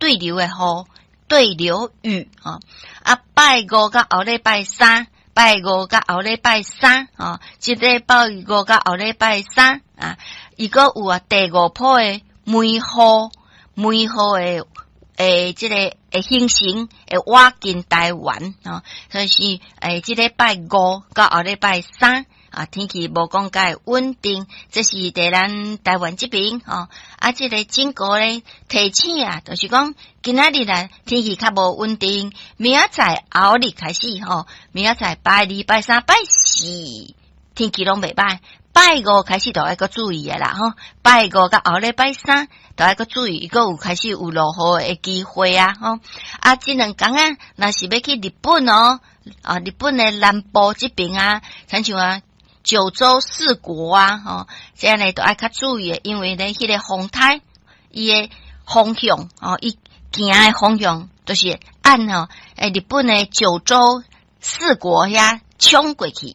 對流的雨，對流雨吼。啊，拜五佮後禮拜三，拜五佮後禮拜三，吼，這禮拜五佮後禮拜三啊，伊閣有啊第五波的梅雨，梅雨的欸，這个會形成會倚近台灣吼，所以是欸，這禮拜五到後禮拜三啊，天氣無講蓋穩定，這是佇咱台灣這邊吼。啊，這个警告咧提醒啊，就是講今仔日啊天氣較無穩定，明仔載後日開始吼，明仔載拜二、拜三、拜四天氣攏袂䆀。拜五開始就愛閣注意的啦吼，拜五佮後禮拜三就愛閣注意，閣有開始有落雨的機會啊吼。啊，這兩工啊，若是欲去日本哦，啊，日本的南部這邊啊，親像啊九州四國啊，吼，這按呢都愛較注意的，因為咧，彼个風颱伊的方向哦，伊行的方向就是按吼，欸，日本的九州四國遐衝過去。